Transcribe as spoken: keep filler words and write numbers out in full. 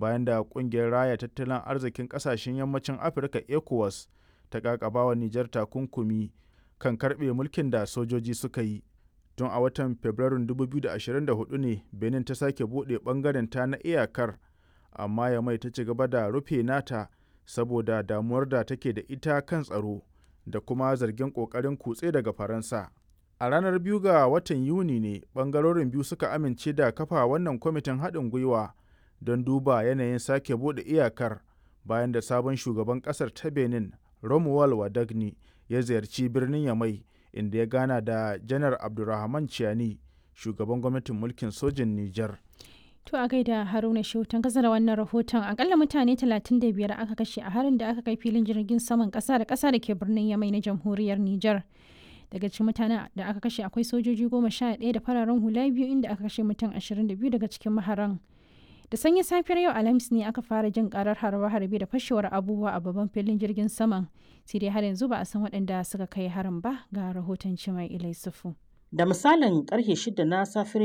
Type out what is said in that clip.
bayan da ƙungiyar Raya Tattalin Arzikin Ƙasashen Yammacin Afirka ECOWAS ta ƙaƙabawa Nijar takunkumi kan karɓe mulkin da sojoji suka yi. Tun a watan Fabrairun dubu biyu da ashirin da huɗu ne Benin ta sake buɗe ɓangarenta na iyakar, amma Yamai ta ci gaba da rufe nata saboda damuwar da take da ita kan tsaro da kuma zargin ƙoƙarin kutse daga Faransa. A ranar biyu ga watan Yuni ne ɓangarorin biyu suka amince da kafa wannan kwamitin haɗin gwiwa don duba yanayin sake buɗe iyakar bayan da sabon shugaban ƙasar ta Benin, Romuald Wadagni, ya ziyarci birnin Yamai, inda ya gana da Janar Abdurrahman Chiani, shugaban gwamnatin mulkin sojin Nijar. To a gaida Haruna Shehu kasa da wannan rahoton. Akalla mutane talatin da biyar aka kashe a harin da aka kai filin jirgin saman kasa da kasa da ke birnin Yamai na jamhuriyar Nijar. Daga cikin mutanen da aka kashe akwai sojoji goma sha ɗaya da fararen hula biyu, inda aka kashe mutum ashirin da biyu daga cikin maharan. Da sanyin safiyar yau Alhamis ne aka fara jin karar harbe-harbe da fashewar abubuwa a babban filin jirgin saman. Sai dai har yanzu ba a san waɗanda suka kai harin ba. Ga rahoton Cimai Ilai Sufu. Da misalin karfe shida na safiyar